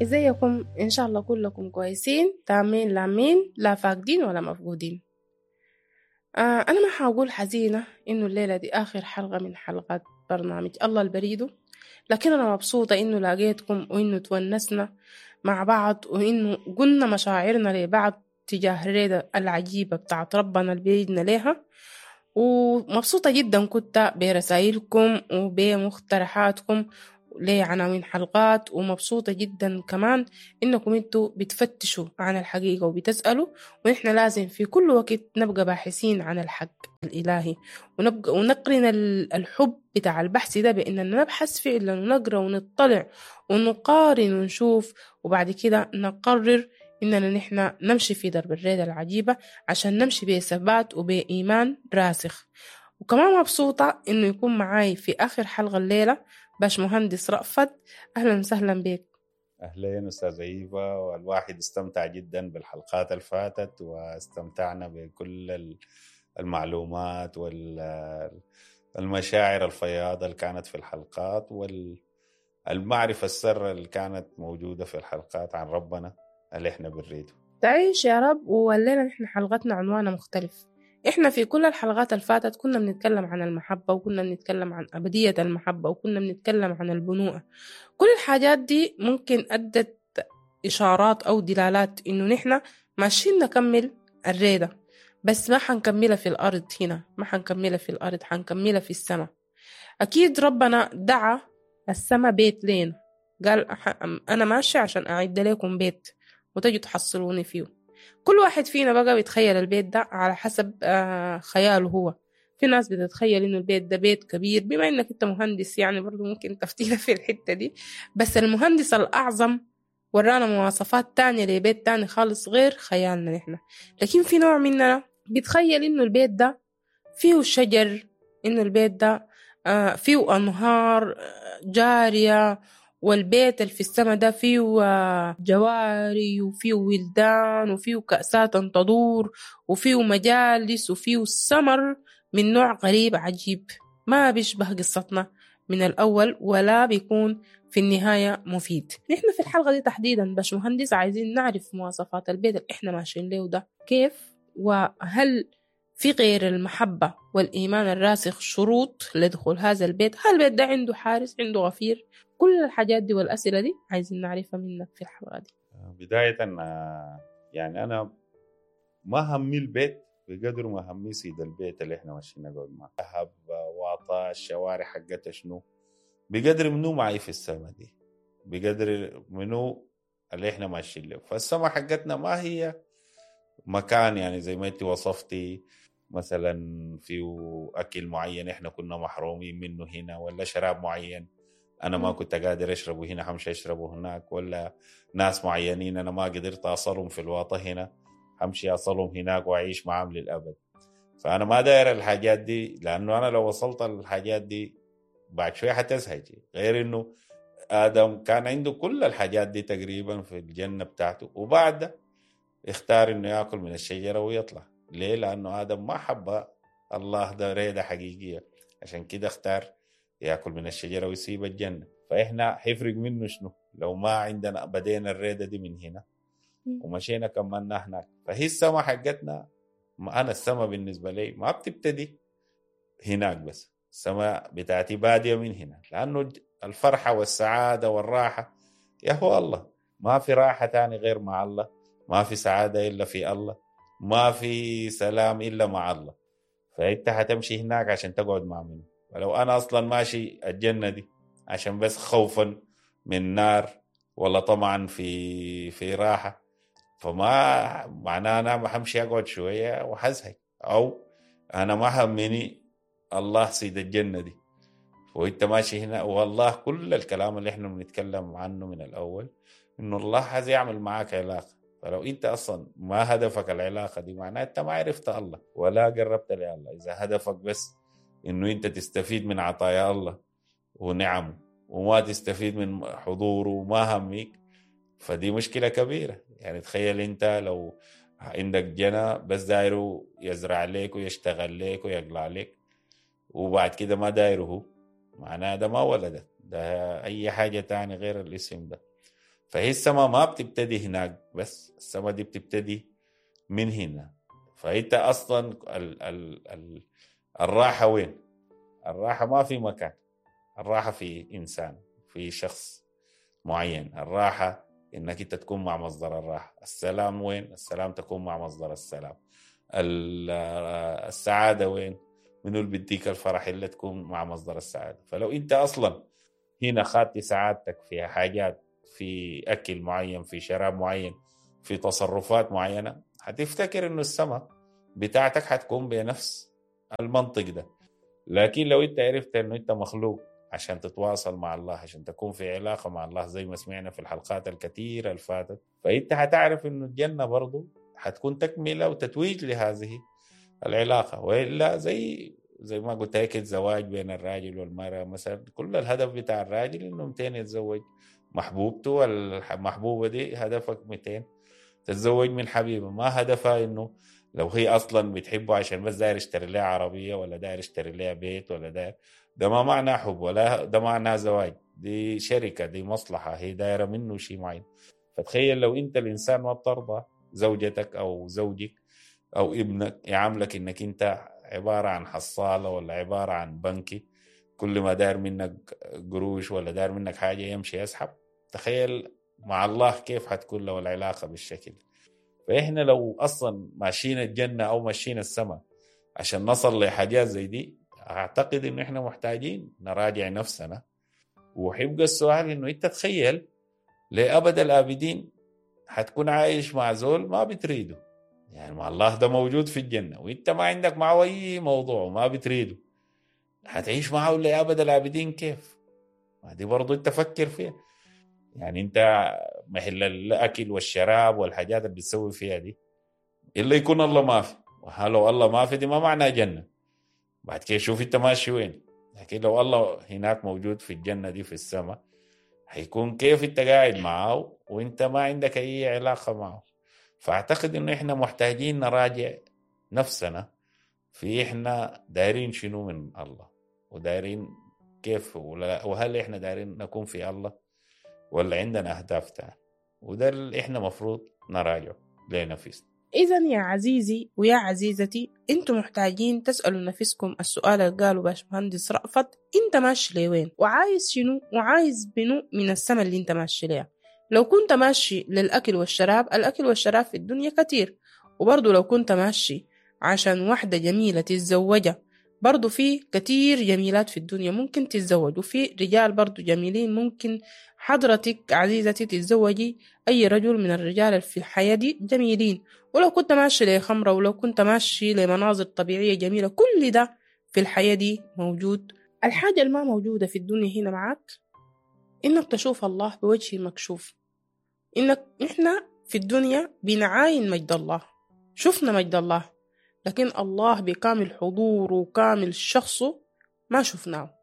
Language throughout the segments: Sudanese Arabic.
ازيكم؟ ان شاء الله كلكم كويسين تامين لامين، لا فاقدين ولا مفقودين. انا ما حاقول حزينة انه الليلة دي اخر حلقة من حلقات برنامج الله البريدو، لكن انا مبسوطة انه لاقيتكم وانه تونسنا مع بعض وانه قلنا مشاعرنا لبعض تجاه الريدة العجيبة بتاعت ربنا اللي بيدنا ليها. ومبسوطة جدا كنت برسائلكم وبمقترحاتكم لعناوين حلقات، ومبسوطة جدا كمان إنكم انتوا بتفتشوا عن الحقيقة وبتسألوا، ونحن لازم في كل وقت نبقى باحثين عن الحق الإلهي ونبقى ونقرن الحب بتاع البحث ده بإننا نبحث فعلا ونقرأ ونطلع ونقارن ونشوف، وبعد كده نقرر إننا نحن نمشي في درب الريدة العجيبة عشان نمشي بثبات وبإيمان راسخ. وكمان مبسوطة إنه يكون معاي في آخر حلقة الليلة باش مهندس رأفت. أهلا وسهلا بك. أهلين أستاذة إيفا، والواحد استمتع جدا بالحلقات الفاتت واستمتعنا بكل المعلومات والمشاعر الفياضة اللي كانت في الحلقات والمعرفة السر اللي كانت موجودة في الحلقات عن ربنا اللي احنا بنريده. تعيش يا رب. والليلة نحن حلقتنا عنوانها مختلف. احنا في كل الحلقات الفاتت كنا بنتكلم عن المحبة، وكنا بنتكلم عن أبدية المحبة، وكنا بنتكلم عن البنوءة. كل الحاجات دي ممكن أدت إشارات أو دلالات إنه نحن ماشيين نكمل الريدة، بس ما حنكملها في الأرض هنا، ما حنكملها في الأرض، حنكملها في السماء. أكيد ربنا دعا السماء بيت لين، قال أنا ماشي عشان أعد لكم بيت وتجوا تحصلوني فيه. كل واحد فينا بقى بيتخيل البيت ده على حسب خياله هو. في ناس بتتخيل إنه البيت ده بيت كبير، بما إنك أنت مهندس يعني برضو ممكن تفتينا في الحتة دي، بس المهندس الأعظم ورانا مواصفات تانية لبيت تاني خالص غير خيالنا نحن. لكن في نوع مننا بيتخيل إنه البيت ده فيه شجر، إنه البيت ده فيه أنهار جارية، والبيت اللي في السماء ده فيه جواري وفيه ولدان وفيه كأسات تدور وفيه مجالس وفيه سمر من نوع غريب عجيب ما بيشبه قصتنا من الأول ولا بيكون في النهاية مفيد. نحن في الحلقة دي تحديدا باش مهندس عايزين نعرف مواصفات البيت اللي احنا ماشيين له ده كيف، وهل في غير المحبة والإيمان الراسخ شروط لدخول هذا البيت؟ هل البيت ده عنده حارس، عنده غفير؟ كل الحاجات دي والأسئلة دي عايزين نعرفها منك في الحلقة دي. بداية يعني أنا ما همي البيت بقدر ما همي سيد البيت اللي احنا ماشيين نقعد معه، ذهب واطا الشوارع حقتها شنو، بقدر منو معي في السما دي، بقدر منو اللي احنا ماشيين له. فالسما حقتنا ما هي مكان يعني زي ما انت وصفتي مثلا فيه أكل معين احنا كنا محرومين منه هنا، ولا شراب معين أنا ما كنت قادر أشربه هنا همشي أشربه هناك، ولا ناس معينين أنا ما قدرت أصلهم في الواطة هنا همشي أصلهم هناك وأعيش معهم للأبد. فأنا ما داير الحاجات دي، لأنه أنا لو وصلت الحاجات دي بعد شوية حتزهج. غير إنه آدم كان عنده كل الحاجات دي تقريبا في الجنة بتاعته، وبعد اختار إنه يأكل من الشجرة ويطلع. ليه؟ لأنه آدم ما حب الله، ده ريدة حقيقية، عشان كده اختار يأكل من الشجرة ويسيب الجنة. فإحنا حيفرق منه شنو لو ما عندنا بدينا الريدة دي من هنا ومشينا كملنا هناك؟ فهي السما حقتنا، أنا السما بالنسبة لي ما بتبتدي هناك بس، السما بتاعتي بادية من هنا، لأنه الفرحة والسعادة والراحة يا هو الله. ما في راحة تاني غير مع الله، ما في سعادة إلا في الله، ما في سلام إلا مع الله. فأنت هتمشي هناك عشان تقعد مع منه. ولو أنا أصلا ماشي الجنة دي عشان بس خوفا من نار ولا طمعا في راحة، فما معناه أنا همشي أقعد شوية وحزهق، أو أنا ما همني الله سيد الجنة دي. وإنت ماشي هنا والله كل الكلام اللي إحنا بنتكلم عنه من الأول إنه الله عايز يعمل معاك علاقة. فلو أنت أصلا ما هدفك العلاقة دي معناه أنت ما عرفت الله ولا قربت لله. إذا هدفك بس إنه أنت تستفيد من عطايا الله ونعمه وما تستفيد من حضوره وما هميك، فدي مشكلة كبيرة. يعني تخيل أنت لو عندك جنى بس دايره يزرع لك ويشتغل لك ويقلع لك، وبعد كده ما دايره هو، معناه ده ما ولدك، ده أي حاجة تاني غير الاسم ده. فهي السماء ما بتبتدي هناك بس، السماء دي بتبتدي من هنا. فانت اصلا ال ال ال الراحة وين؟ الراحة ما في مكان، الراحة في انسان، في شخص معين. الراحة انك انت تكون مع مصدر الراحة. السلام وين؟ السلام تكون مع مصدر السلام. السعادة وين؟ منو اللي بيديك الفرح الا تكون مع مصدر السعادة. فلو انت اصلا هنا خدت سعادتك في حاجات، في اكل معين، في شراب معين، في تصرفات معينة، هتفتكر انه السماء بتاعتك هتكون بنفس المنطق ده. لكن لو انت عرفت انه انت مخلوق عشان تتواصل مع الله، عشان تكون في علاقة مع الله زي ما سمعنا في الحلقات الكثيرة اللي فاتت، فانت هتعرف انه الجنة برضو هتكون تكملة وتتويج لهذه العلاقة. وإلا زي ما قلت هيك الزواج بين الراجل والمرأة مثلا، كل الهدف بتاع الراجل انه 200 يتزوج محبوبته، والمحبوبة دي هدفك 200 تتزوج من حبيبه، ما هدفها انه لو هي اصلا بتحبه عشان بس داير يشتري لها عربية ولا داير يشتري لها بيت ولا داير، ده ما معناه حب ولا ده معناه زواج، دي شركة، دي مصلحة، هي دايرة منه شيء معين. فتخيل لو انت الانسان ما بترضى زوجتك او زوجك او ابنك يعاملك انك انت عبارة عن حصاله ولا عبارة عن بنكي، كل ما داير منك قروش ولا داير منك حاجة يمشي يسحب. تخيل مع الله كيف حتكون لو العلاقة بالشكل. فإحنا لو أصلا ماشيين الجنة أو ماشيين السماء عشان نصل لحاجات زي دي، أعتقد إنه إحنا محتاجين نراجع نفسنا. وحيبقى السؤال إنه أنت تخيل لأبد الآبدين حتكون عايش مع زول ما بتريده، يعني مع الله ده موجود في الجنة وإنت ما عندك معه أي موضوع وما بتريده، حتعيش معه لأبد الآبدين كيف؟ ما دي برضو أنت فكر فيها. يعني انت محل الاكل والشراب والحاجات اللي بتسوي فيها دي الا يكون الله ما في، وهلو الله ما في دي ما معناها جنة. بعد كده شوف انت ماشي وين. لكن لو الله هناك موجود في الجنة دي في السماء، هيكون كيف انت قاعد معه وانت ما عندك اي علاقة معه؟ فاعتقد انه احنا محتاجين نراجع نفسنا في احنا دايرين شنو من الله، ودايرين كيف، وهل احنا دايرين نكون في الله ولا عندنا أهداف تانية. وده اللي إحنا مفروض نراجعه لنفسنا. إذن يا عزيزي ويا عزيزتي، أنتم محتاجين تسألوا نفسكم السؤال اللي قاله باشمهندس رأفت: أنت ماشي لوين؟ وعايز شنو؟ وعايز منو من السما اللي أنت ماشي ليها؟ لو كنت ماشي للأكل والشراب، الأكل والشراب في الدنيا كتير. وبرضو لو كنت ماشي عشان واحدة جميلة تتزوجها، برضو في كتير جميلات في الدنيا ممكن تتزوج، وفي رجال برضو جميلين ممكن حضرتك عزيزتي تتزوجي أي رجل من الرجال في الحياة دي جميلين. ولو كنت ماشي لخمرة، ولو كنت ماشي لمناظر طبيعية جميلة، كل ده في الحياة دي موجود. الحاجة اللي ما موجودة في الدنيا هنا معاك إنك تشوف الله بوجه مكشوف. إنك إحنا في الدنيا بنعاين مجد الله، شفنا مجد الله، لكن الله بكامل حضوره وكامل شخصه ما شفناه.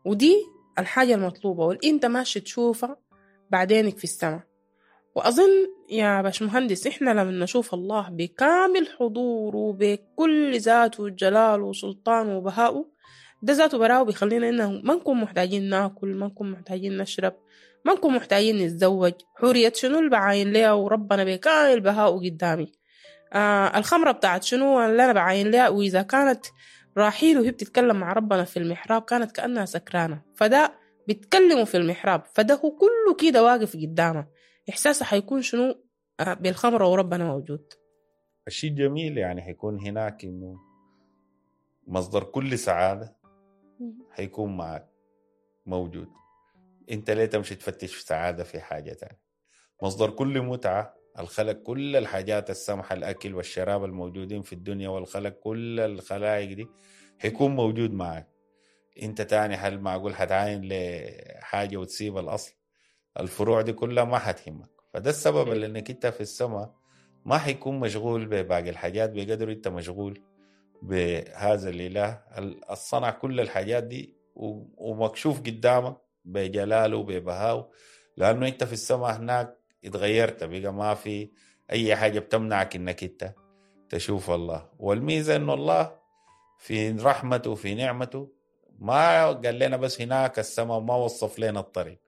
ودي الحاجة المطلوبة واللي انت ماشي تشوفها بعدينك في السماء. وأظن يا باشمهندس إحنا لما نشوف الله بكامل حضوره بكل ذاته وجلاله وسلطانه وبهائه، ده ذاته براه بيخلينا إنه ما نكون محتاجين ناكل، ما نكون محتاجين نشرب، ما نكون محتاجين نتزوج. حورية شنو اللي بعاين ليها وربنا بكامل بهائه قدامي؟ الخمرة بتاعت شنو اللي أنا بعاين لها؟ وإذا كانت راحيل وهي بتتكلم مع ربنا في المحراب كانت كأنها سكرانة، فده بيتكلموا في المحراب، فده هو كله كده واقف قدامه، إحساسه حيكون شنو بالخمرة وربنا موجود. الشيء الجميل يعني حيكون هناك إنه مصدر كل سعادة حيكون معك موجود. أنت ليه تمشي تفتش في سعادة في حاجة تانية؟ مصدر كل متعة، الخلق كل الحاجات السمحة، الأكل والشراب الموجودين في الدنيا والخلق كل الخلائق دي حيكون موجود معك. انت تاني هل معقول حتعاين لحاجة وتسيب الأصل؟ الفروع دي كلها ما حتهمك. فده السبب اللي انك انت في السماء ما حيكون مشغول بباقي الحاجات بقدر انت مشغول بهذا الإله الصنع كل الحاجات دي ومكشوف قدامك بجلاله وببهائه، لأنه انت في السماء هناك اتغيرت، بقى ما في أي حاجة بتمنعك إنك أنت تشوف الله. والميزة إنه الله في رحمته وفي نعمته ما قال لنا بس هناك السماء، ما وصف لنا الطريق،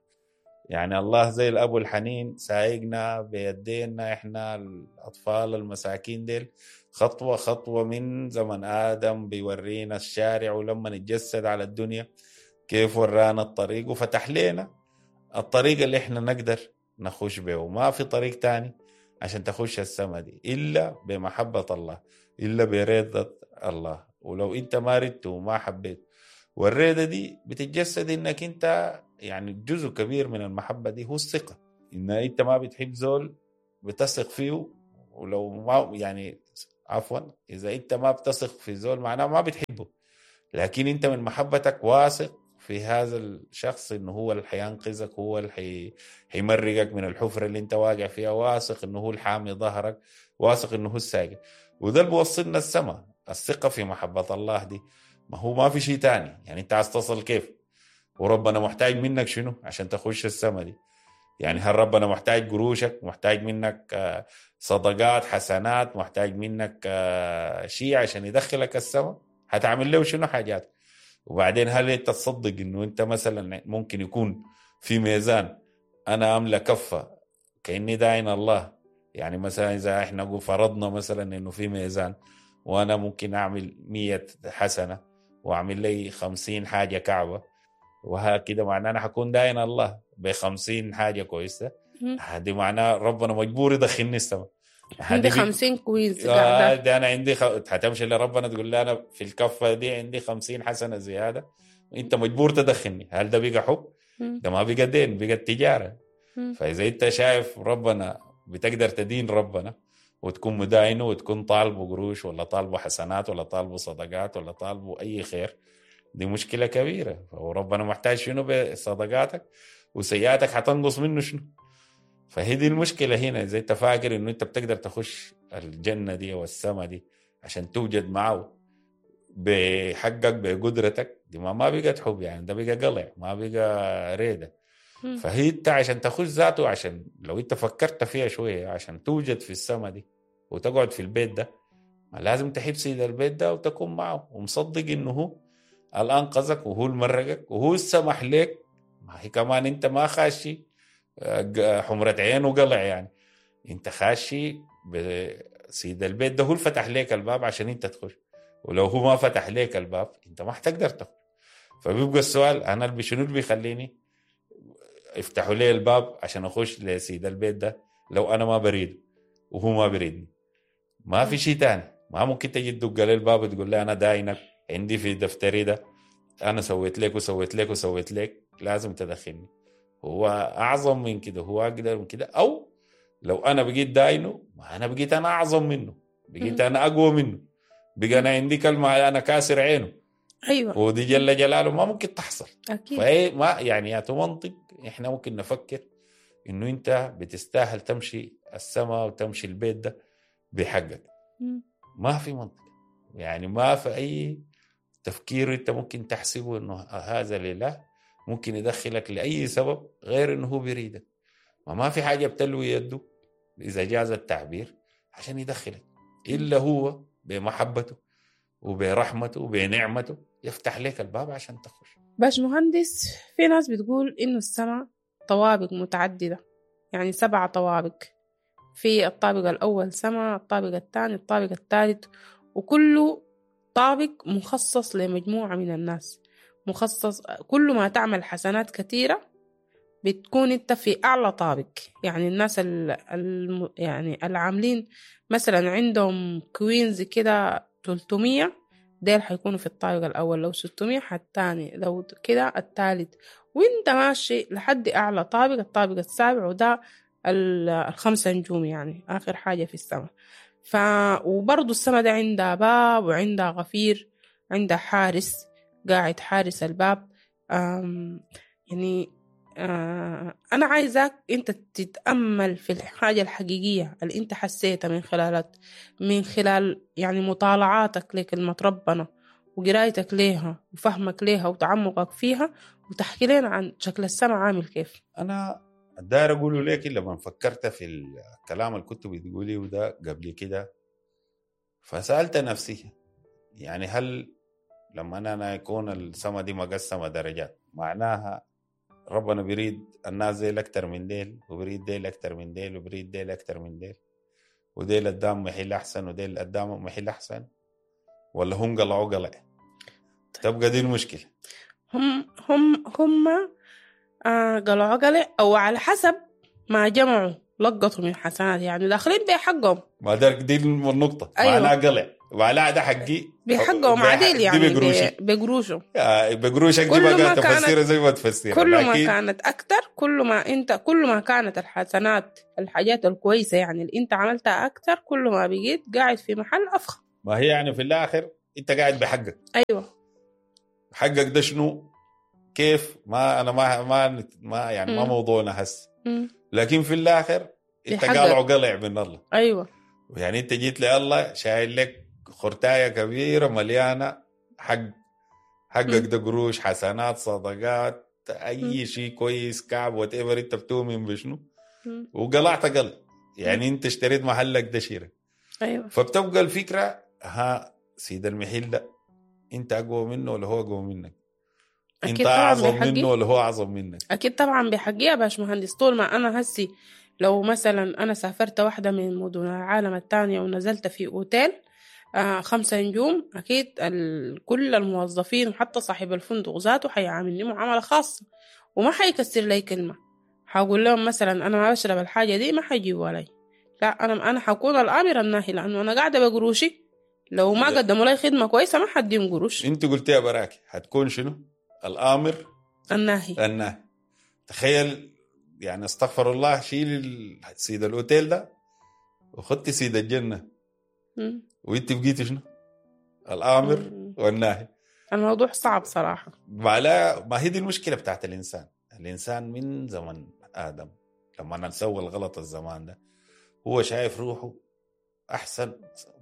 يعني الله زي الأب الحنين سايقنا بيدينا إحنا الأطفال المساكين ديل خطوة خطوة من زمن آدم، بيورينا الشارع، ولما نتجسد على الدنيا كيف ورانا الطريق وفتح لنا الطريق اللي إحنا نقدر نخش به. وما في طريق تاني عشان تخش السما دي إلا بمحبة الله، إلا برضا الله. ولو أنت ما ردت وما حبيت، والرضا دي بتتجسد إنك أنت يعني جزء كبير من المحبة دي هو الثقة، إن أنت ما بتحب زول بتثق فيه، ولو ما يعني عفوا إذا أنت ما بتثق في زول معناه ما بتحبه، لكن أنت من محبتك واثق في هذا الشخص إنه هو اللي حينقذك، هو اللي حيمرقك من الحفرة اللي أنت واقع فيها، واثق إنه هو الحامي ظهرك، واثق إنه هو السايق. وده اللي بيوصلنا السما، الثقة في محبة الله دي. ما هو ما في شيء تاني، يعني أنت عايز تصل كيف؟ وربنا محتاج منك شنو عشان تخش السما دي؟ يعني هل ربنا محتاج قروشك؟ محتاج منك صدقات حسنات؟ محتاج منك شيء عشان يدخلك السما؟ هتعمل له شنو حاجات؟ وبعدين هل انت تصدق انه انت مثلا ممكن يكون في ميزان انا املى كفة كأني داين الله؟ يعني مثلا اذا احنا فرضنا مثلا انه في ميزان وانا ممكن اعمل 100 حسنة واعمل لي 50 حاجة كعبة وهكذا، معناه انا حكون داين الله ب50 حاجة كويسة. هذه معناه ربنا مجبور يدخلني السماء. عندي 50 كويز. ده انا عندي هتمشي لربنا تقول له انا في الكفة دي عندي 50 حسنه زيادة، انت مجبور تدخلني. هل ده بقى حب؟ ده ما بقى دين، بقى تجارة. فاذا انت شايف ربنا بتقدر تدين ربنا وتكون مداينه وتكون طالبه قروش ولا طالبه حسنات ولا طالبه صدقات ولا طالبه اي خير، دي مشكلة كبيرة. وربنا محتاج شنو بصدقاتك؟ وسيئاتك حتنقص منه شنو؟ فهي دي المشكلة هنا. إذا أنت فاكر إنه أنت بتقدر تخش الجنة دي والسما دي عشان توجد معه بحقك بقدرتك دي، ما بقت حب، يعني ده بقى قلع، ما بقى ريدة. فهي أنت عشان تخش ذاته، عشان لو أنت فكرت فيها شوية، عشان توجد في السما دي وتقعد في البيت ده، ما لازم تحب سيد البيت ده وتكون معه ومصدق إنه هو اللي أنقذك وهو اللي مرقك وهو السمح لك. ما هي كمان أنت ما خاشي حمرة عين وقلع، يعني انت خاشي بسيد البيت ده هو اللي فتح لك الباب عشان انت تخش، ولو هو ما فتح لك الباب انت ما حتقدر تخش. فبيبقى السؤال انا شنو اللي بيخليني افتحوا لي الباب عشان اخش لسيد البيت ده لو انا ما بريد وهو ما بريدني؟ ما في شيء تاني. ما ممكن تجي تدق لي الباب وتقول لي انا داينك عندي في دفتري ده، انا سويت لك وسويت لك وسويت لك، لازم تدخلني. هو أعظم من كده، هو أقدر من كده. أو لو أنا بقيت داينه، ما أنا بقيت أنا أعظم منه، بقيت أنا أقوى منه، بقى أنا عندي كلمة، أنا كاسر عينه. أيوة. ودي جل جلاله ما ممكن تحصل. أكيد. فهي ما يعني يا منطق إحنا ممكن نفكر إنه أنت بتستاهل تمشي السماء وتمشي البيت ده بحقك. ما في منطق، يعني ما في أي تفكير أنت ممكن تحسبه إنه هذا لله ممكن يدخلك لأي سبب غير إنه هو بيريدك. ما في حاجة بتلوي يده إذا جاز التعبير عشان يدخلك، إلا هو بمحبته وبرحمته وبنعمته يفتح لك الباب عشان تخش. باش مهندس، في ناس بتقول إنه السماء طوابق متعددة، يعني 7 طوابق، في الطابق الأول سماء، الطابق الثاني، الطابق الثالث، وكل طابق مخصص لمجموعة من الناس، مخصص كل ما تعمل حسنات كثيرة بتكون انت في أعلى طابق. يعني الناس يعني العاملين مثلا عندهم coins كده 300، ديل حيكونوا في الطابق الأول، لو 600 الثاني، لو كده الثالث، وانت ماشي لحد أعلى طابق، الطابق السابع، وده 5 نجوم، يعني آخر حاجة في السماء. وبرضو السماء ده عندها باب وعندها غفير، عندها حارس قاعد حارس الباب. يعني أنا عايزاك أنت تتأمل في الحاجة الحقيقية اللي أنت حسيتها من خلال يعني مطالعاتك لكلمة ربنا وقرايتك ليها وفهمك ليها وتعمقك فيها، وتحكي لنا عن شكل السماء عامل كيف. أنا داير أقوله لك لما فكرت في الكلام اللي كنت بتقوليه وده قبل كده، فسألت نفسي يعني هل لما أنا يكون السما دي مقسمة درجات معناها ربنا بيريد الناس ديل اكتر من ديل، وبريد ديل اكتر من ديل، وبريد ديل اكتر من ديل، وديل قدام محل احسن، وديل قدام محل احسن، ولا هم قلعوا قلع؟ تبقى دي المشكلة. هم هم هم قلعوا قلع، او على حسب ما جمعوا لقطوا من حسنات، يعني داخلين بحقهم. ما ده دي النقطة. أيوة. معناها قلع، معناها ده حقي بحقهم عديل يعني، دي بقروشي، بقروشه. بقروشك دي كل ما بقى كانت- تفسيرها زي ما تفسيرها. كل ما لكن كانت أكتر، كل ما أنت، كل ما كانت الحسنات، الحاجات الكويسة يعني اللي أنت عملتها أكتر، كل ما بقيت قاعد في محل أفخم. ما هي يعني في الآخر أنت قاعد بحقك. أيوة. حقك ده شنو؟ كيف؟ ما أنا ما ما ما يعني ما موضوعنا هسه. لكن في الآخر أنت بحقك. قالع قلع من الله. أيوة. يعني أنت جيت لله شايل لك خرتاية كبيرة مليانة حقك ده قروش، حسنات، صدقات، أي شيء كويس، كعب، whatever أنت بتؤمن بشنو، وقلعت قلع. يعني أنت اشتريت محلك ده شيرة. أيوة. فبتبقى الفكرة، ها سيد المحل ده أنت أقوى منه ولا هو أقوى منك؟ أكيد أنت طبعاً أعظم بحقي. منه ولا هو أعظم منك؟ أكيد طبعا بحقي يا باش مهندس. طول ما أنا هسي لو مثلا أنا سافرت واحدة من مدن العالم الثانية ونزلت في أوتيل 5 نجوم، أكيد كل الموظفين وحتى صاحب الفندق ذاته حيعاملني معاملة خاصة وما حيكسر لي كلمة. حقول لهم مثلا أنا ما بشرب الحاجة دي، ما حيجيبوها لي. لا، أنا حكون الآمر الناهي، لأنه أنا قاعدة بقروشي. لو ما قدموا لي خدمة كويسة ما حديهم قروش. أنت قلتيها براك، حتكون شنو؟ الآمر الناهي. الناهي. تخيل يعني، استغفر الله، شيل سيد الأوتيل ده وخدتي سيد الجنة، وانت بقيتي شنو؟ الآمر والناهي. الموضوع صعب صراحة. ما هي دي المشكلة بتاعت الإنسان. الإنسان من زمن آدم لما نسوي الغلط الزمان ده، هو شايف روحه أحسن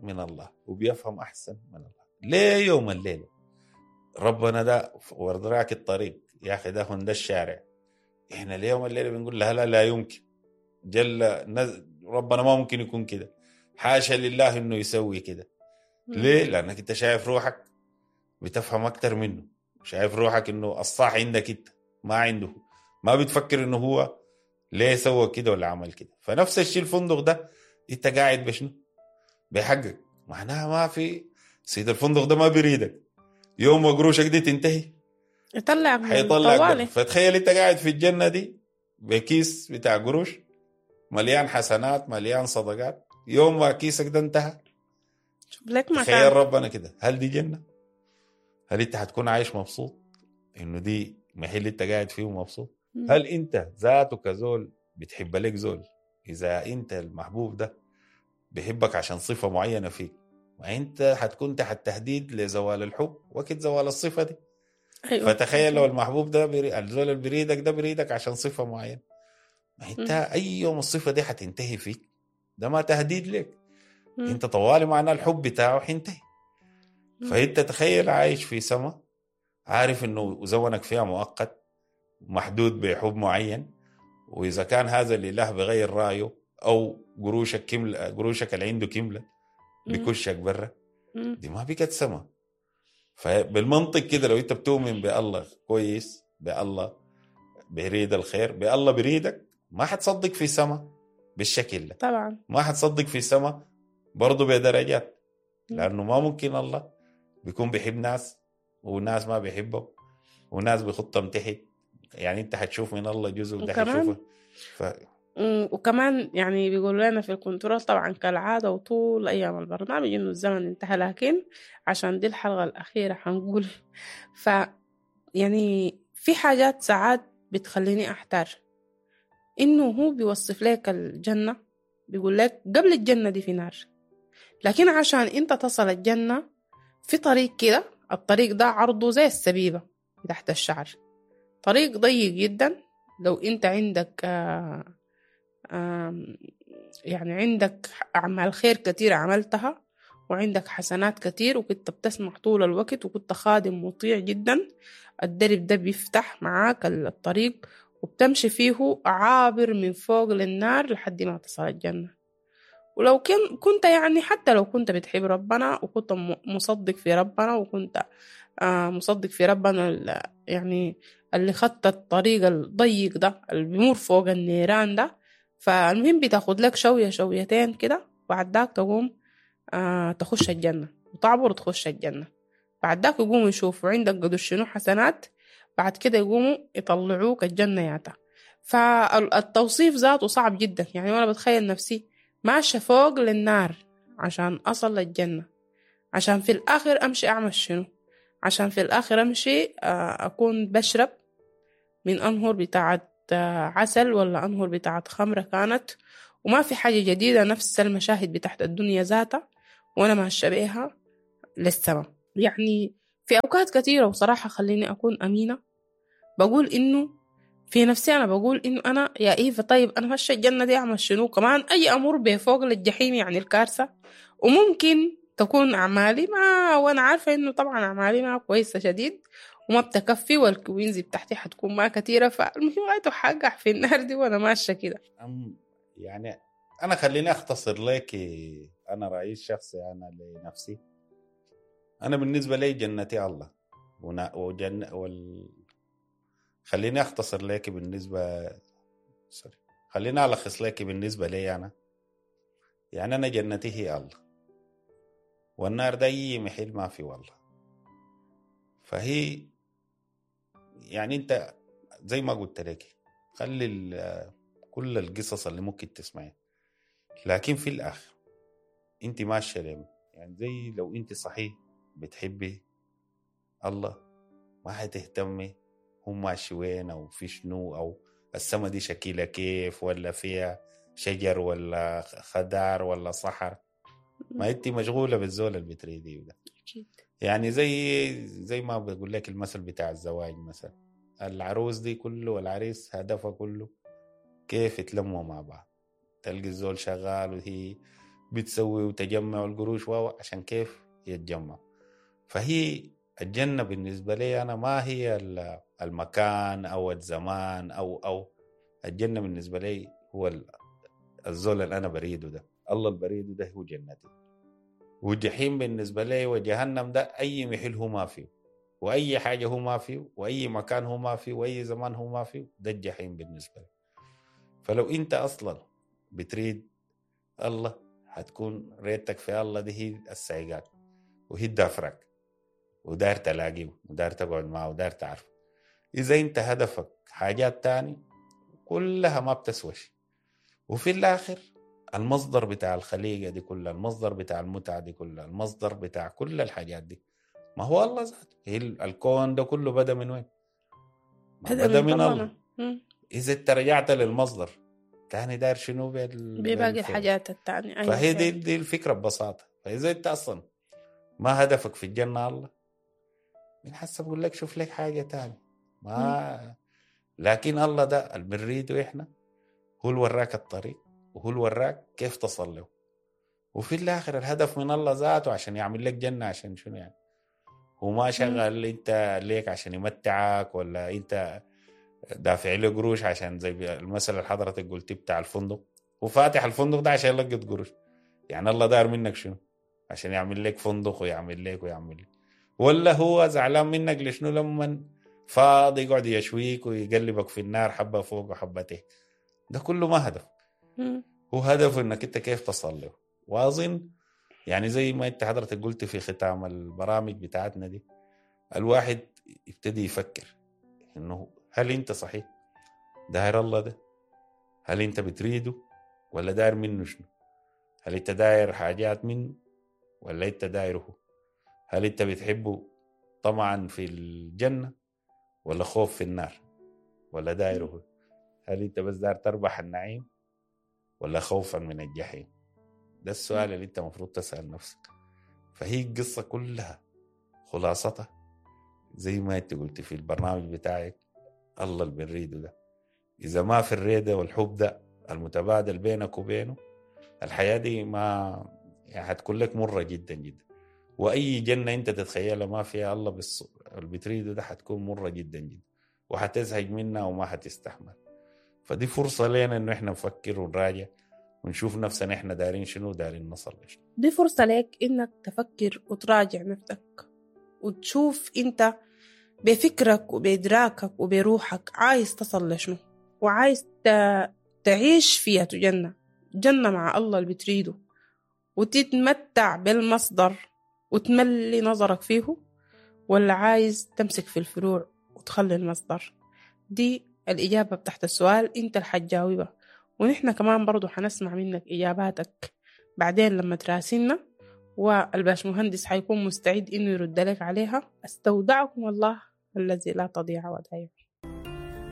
من الله وبيفهم أحسن من الله. ليه يوم الليلة ربنا ده وردراك الطريق يا أخي، ده هون ده الشارع. إحنا اليوم الليلة بنقول لا لا لا يمكن، جل ربنا ما ممكن يكون كده، حاشا لله إنه يسوي كده. ليه؟ لأنك أنت شايف روحك بتفهم أكتر منه، شايف روحك إنه الصح عندك أنت ما عنده، ما بتفكر إنه هو ليه سوى كده ولا عمل كده. فنفس الشيء الفندق ده أنت قاعد بشنو؟ بحقك. معناها ما في سيد الفندق ده ما بيريدك، يوم ما قروشك دي تنتهي يطلعك، حيطلعك. فتخيل أنت قاعد في الجنة دي بكيس بتاع قروش مليان حسنات مليان صدقات، يوم ما كيسك ده انتهى شوف لك مكان. تخيل ربنا كده، هل دي جنة؟ هل انت هتكون عايش مبسوط انه دي محل انت قاعد فيه مبسوط؟ هل انت ذاته كزول بتحب لك زول؟ اذا انت المحبوب ده بيحبك عشان صفة معينة فيك، ما انت هتكون تحت تهديد لزوال الحب وقت زوال الصفة دي. أيوة. فتخيل لو المحبوب ده الزول اللي بريدك ده بريدك عشان صفة معينة، ما انت اي يوم الصفة دي هتنتهي فيك، ده ما تهديد لك. انت طوالي معناه الحب بتاعه حينتهي. فانت تخيل عايش في سما، عارف انه زونك فيها مؤقت محدود بحب معين، واذا كان هذا الاله بغير رايه او قروشك كملة، قروشك اللي عنده كملة بكشك برا، دي ما بقت سما. فبالمنطق كده لو انت بتؤمن بالله كويس، بالله بريد الخير، بالله بريدك، ما حتصدق في سما بالشكل ده. طبعا ما حتصدق في سما برضو بدرجات، لأنه ما ممكن الله بيكون بيحب ناس وناس ما بيحبه وناس بيخطهم تحت. يعني انت حتشوف من الله جزء وده حتشوفه. وكمان يعني بيقولوا لنا في الكنترول طبعا كالعادة وطول أيام البرنامج إنه الزمن انتهى، لكن عشان دي الحلقة الأخيرة حنقول يعني في حاجات ساعات بتخليني أحتار. إنه هو بيوصف لك الجنة، بيقول لك قبل الجنة دي في نار، لكن عشان انت تصل الجنة في طريق كده، الطريق ده عرضه زي السبيبة تحت الشعر، طريق ضيق جدا. لو انت عندك يعني عندك أعمال خير كتير عملتها وعندك حسنات كتير وكنت بتسمع طول الوقت وكنت خادم مطيع جدا، الدرب ده بيفتح معاك الطريق وبتمشي فيه عابر من فوق للنار لحد ما تصل الجنة. ولو كنت يعني حتى لو كنت بتحب ربنا وكنت مصدق في ربنا، وكنت مصدق في ربنا يعني اللي خط الطريق الضيق ده اللي بيمر فوق النيران ده، فالمهم بتاخد لك شوية شويتين كده، بعد ذاك تقوم تخش الجنة وتعبر وتخش الجنة. بعد ذاك يقوموا يشوفوا عندك قدر شنو حسنات، بعد كده يقوموا يطلعوك الجنة ياتا. فالتوصيف ذاته صعب جدا. يعني أنا بتخيل نفسي ماشية فوق للنار عشان أصل للجنة، عشان في الآخر أمشي أعمل شنو؟ عشان في الآخر أمشي أكون بشرب من أنهر بتاعت عسل ولا أنهر بتاعت خمرة كانت، وما في حاجة جديدة، نفس المشاهد بتاعت الدنيا ذاتها وأنا ماشية بيها للسما. يعني في أوقات كثيرة وصراحة خليني أكون أمينة، بقول إنه في نفسي أنا بقول إنه أنا يا إيفا طيب أنا ماشية الجنة دي أعمل شنو؟ كمان أي أمر بفوق للجحيم يعني الكارثة، وممكن تكون أعمالي ما، وأنا عارفة إنه طبعا أعمالي ما كويسة شديد وما بتكفي، والكوينزي بتاعتي حتكون ما كثيرة، فالمهم غايته حقع في النار دي وأنا ماشية كده. يعني أنا خليني أختصر لك أنا رأيي الشخصي أنا لنفسي. أنا بالنسبة لي جنتي الله، خليني أختصر لك بالنسبة سوري خليني ألخص لك بالنسبة لي أنا. يعني أنا جنتي هي الله، والنار ده أي محل ما في والله. فهي يعني أنت زي ما قلت لك خلي كل القصص اللي ممكن تسمعها، لكن في الآخر أنت ماشية ليه؟ يعني زي لو أنت صحيح بتحبي الله ما حتهتمي هم ماشي وين أو في شنو أو السما دي شكلها كيف ولا فيها شجر ولا خضار ولا صحر، ما أنت مشغولة بالزول اللي بتريديه ده. يعني زي ما بقول لك المثل بتاع الزواج مثلا، العروس دي كله والعريس هدفه كله كيف يتلموا مع بعض، تلقي الزول شغال وهي بتسوي وتجمع القروش واو عشان كيف يتجمع. فهي الجنة بالنسبة لي أنا ما هي المكان أو الزمان أو الجنة بالنسبة لي هو الزول اللي أنا بريده ده، الله اللي بريده ده هو جنتي. والجحيم بالنسبة لي وجهنم ده أي محل هو ما فيه، وأي حاجة هو ما فيه، وأي مكان هو ما فيه، وأي زمان هو ما فيه، ده الجحيم بالنسبة لي. فلو أنت أصلا بتريد الله هتكون ريتك في الله دي هي السايقات وهي الدافرك، ودار تلاقيه ودار تقعد معه ودار تعرفه. إذا أنت هدفك حاجات تاني كلها ما بتسوش. وفي الآخر المصدر بتاع الخليقة دي كلها، المصدر بتاع المتعة دي كلها، المصدر بتاع كل الحاجات دي ما هو الله ذاته. هي الكون ده كله بدأ من وين؟ بدأ من الله. إذا انت رجعت للمصدر تاني داير شنو بباقي الحاجات التانية. أيوة فهي دي الفكرة ببساطة. فإذا انت أصلا ما هدفك في الجنة الله، من حسب بقول لك شوف لك حاجة تانية ما. لكن الله ده اللي بنريده إحنا هو اللي وراك الطريق وهو اللي وراك كيف تصل له. وفي الآخر الهدف من الله ذاته عشان يعمل لك جنة، عشان شنو يعني؟ هو ما شغل انت ليك عشان يمتعك ولا انت دافع له قروش عشان زي المثل اللي حضرتك قلتي بتاع الفندق، وفاتح الفندق ده عشان يلقط قروش. يعني الله دار منك شنو؟ عشان يعمل لك فندق ويعمل لك ويعمل لك، ولا هو زعلان منك لشنو لما فاضي يقعد يشويك ويقلبك في النار حبة فوق وحبة تحت؟ ده كله ما هدف. هو هدفه انك انت كيف تصل له. واظن يعني زي ما انت حضرتك قلت في ختام البرامج بتاعتنا دي، الواحد يبتدي يفكر انه هل انت صحيح داير الله ده؟ هل انت بتريده ولا داير منه شنو؟ هل انت داير حاجات منه ولا انت دايره؟ هل انت بتحبه طمعا في الجنة ولا خوف في النار ولا دايره؟ هل انت بس داير تربح النعيم ولا خوفا من الجحيم؟ ده السؤال اللي انت مفروض تسأل نفسك. فهي القصة كلها خلاصتها زي ما انت قلت في البرنامج بتاعك، الله اللي بنريده ده إذا ما في الريدة والحب ده المتبادل بينك وبينه، الحياة دي ما يعني هتكون لك مرة جدا جدا. وأي جنة انت تتخيلها ما فيها الله اللي بتريده ده هتكون مرة جدا جدا، وهتزهق منها وما هتستحمل. فدي فرصة لنا انه احنا نفكر ونراجع ونشوف نفسنا احنا دايرين شنو ودايرين نصل لشنو. دي فرصة لك إنك تفكر وتراجع نفسك وتشوف أنت بفكرك وبإدراكك وبروحك عايز تصل لشنو، وعايز تعيش فيها جنة، جنة مع الله اللي بتريده، وتتمتع بالمصدر وتملي نظرك فيه، ولا عايز تمسك في الفروع وتخلي المصدر. دي الإجابة بتاعت السؤال، أنت اللي حتجاوبها، ونحن كمان برضو حنسمع منك إجاباتك بعدين لما تراسلنا، والباش مهندس حيكون مستعد إنه يرد لك عليها. أستودعكم الله الذي لا تضيع ودائعه.